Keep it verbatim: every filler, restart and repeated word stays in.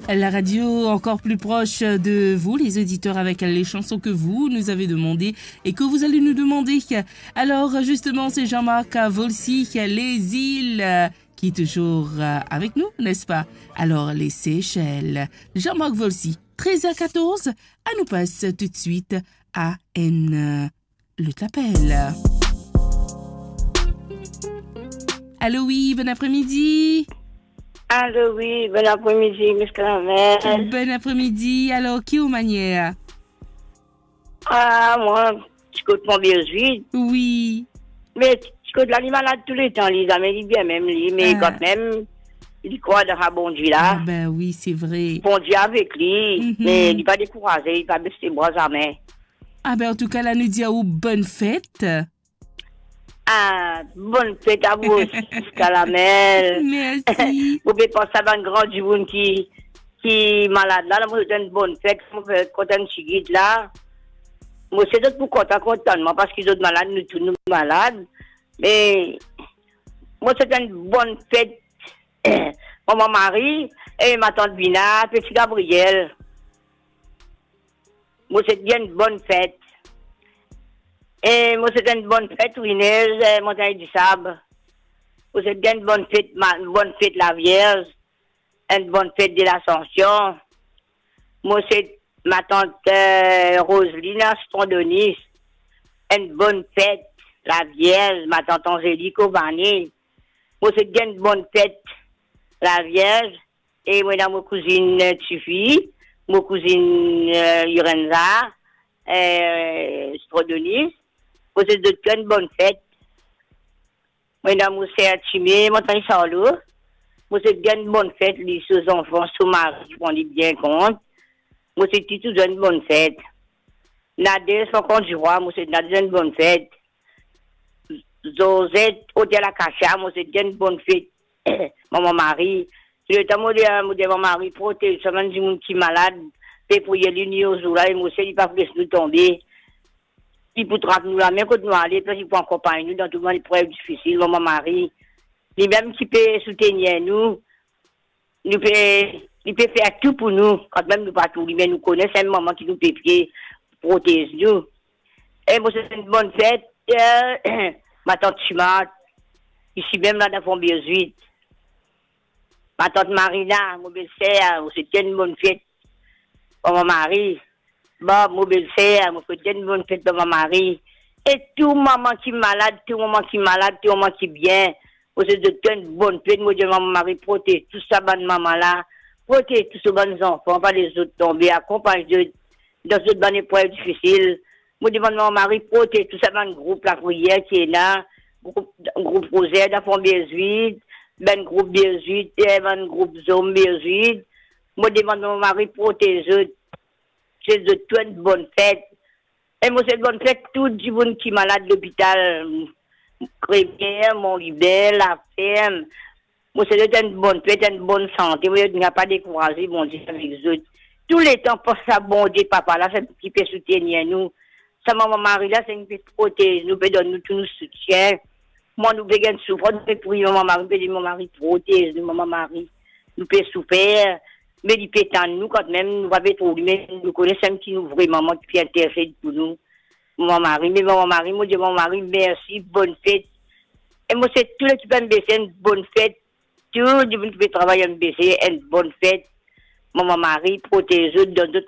La radio encore plus proche de vous, les auditeurs, avec les chansons que vous nous avez demandées et que vous allez nous demander. Alors, justement, c'est Jean-Marc Volcy, Les Îles, euh, qui est toujours, euh, avec nous, n'est-ce pas ? Alors, les Seychelles. Jean-Marc Volcy, treize heures quatorze, à nous passe tout de suite à N. Lot lapel. Alo, wi, bon apremidi. Alo, wi, bon apremidi, Miss Karamel. Bon apremidi. Alor, ki ou manier? Ah, mwa, ti kot Pon Birzwit. Wi. Me ti kot la, li malad touletan, li, zame li bien mem, li, me Ah. kanmem, li krwar dan sa Bondie la. Ah, ben wi, se vre. Bondie avek li, Mhm. me li pa dekouraze, li pa bes lebra zame. Ah ben, an tou ka, la, nou dir ou bonn fet. Ah, bonn fet a ou osi, Karamel. Mersi. Ou pe pans a bann gran dimoun ki, ki malad la, la, mo swet enn bonn fet, mo pe kontan ti git la. Mo swet zot pou kontan, kontan mwa, paski zot malad, nou tou nou malad. Me, mo swet enn bonn fet, Mama Mari, e matant Bina, peti Gabriel. Mo swet enn bonn fet. E mo swet enn bonn fet, Winez, eh, Montagn di Sab. Mo swet enn bonn fet, ma-, bonn fet Lavierz, enn bonn fet de Lasansion. Mo swet matant, eh, Roselina Sitron Donis, enn bonn fet Lavierz, matant Anzelik Ovane. Mo swet enn bonn fet Lavierz, e mo ena mo kouzinn, eh, tifi, mo kouzinn, eh, Lorenza, eh, Sitron Donis. Mo swet zot tou enn bonn fet. Mo ena mo ser Time, Montagn Sarlo. Mo swet enn bonn fet, li, so zanfan, so mari, ki pran li bien kont. Mo swet li tou enn bonn fet. Nadez, Faucon du Roi, mo swet Nadez enn bonn fet. Zozet, Otel Akasia, mo swet enn bonn fet, Mama Mari. Touletan mo dir, mo dir Mama Mari, protez sa bann dimoun ki malad, pe priye li nit e zour la, e mo swet li pa pou les nou tonbe. Li pou trap nou lame kot nou ale, plis li pou akonpagn nou dan tou bann leprev difisil, Mama Mari. Limem ki pe soutenir nou, nou pe, li pe fer tou pou nou, kanmem nou pa tou li, me nou kone se enn mama ki nou pe priye, protez nou. E mo swet enn bonn fet, eh, matant Timat, isi mem la dan Fon Birzwit. Matant Marina, mo belser, mo swet enn bonn fet, Mama Mari. Bon, mo belser, mo swet enn bonn fet Mama Mari. E tou mama ki malad, tou mama ki malad, tou mama ki bien, mo swet zot tou enn bonn fet. Mo dir Mama Mari, protez tou sa bann mama la, protez tou so bann zanfan, pa les zot tonbe, akonpagn zot dan zot bann eprev difisil. Mo demann Mama Mari, protez tou sa bann group lapriyer ki ena, group, group Rozer dan Fon Birzwit, bann group Birzwit, eh, bann group Zom Birzwit. Mo demann Mama Mari, protez zot. Swet zot tou enn bonn fet. E mo swet bonn fet tou dimoun ki malad lopital, Kremier, Mont Liber, Laferm. Mo swet zot enn bonn fet, enn bonn sante. Mo dir zot pa dekouraze, Bondie avek zot. Touletan, pans sa Bondie Papa la, se ki pe soutenir nou. Sa Mama Mari la, se ki pe protez nou, pe donn nou tou nou soutien. Mwa nou pe gagn soufrans, nou pe priye Mama Mari, nou pe dir, Mama Mari, protez nou, Mama Mari. Nou pe soufer, me li pe tann nou kanmem, nou pa pe trouv li, me nou kone sa ki nou vre mama ki pe intersed pou nou. Mama Mari, me Mama Mari, mo dir Mama Mari, mersi, bonn fet. E mo swet tou lekip MBC enn bonn fet. Tou dimoun ki pe travay MBC, enn bonn fet. Mama Mari, protez zot, donn zot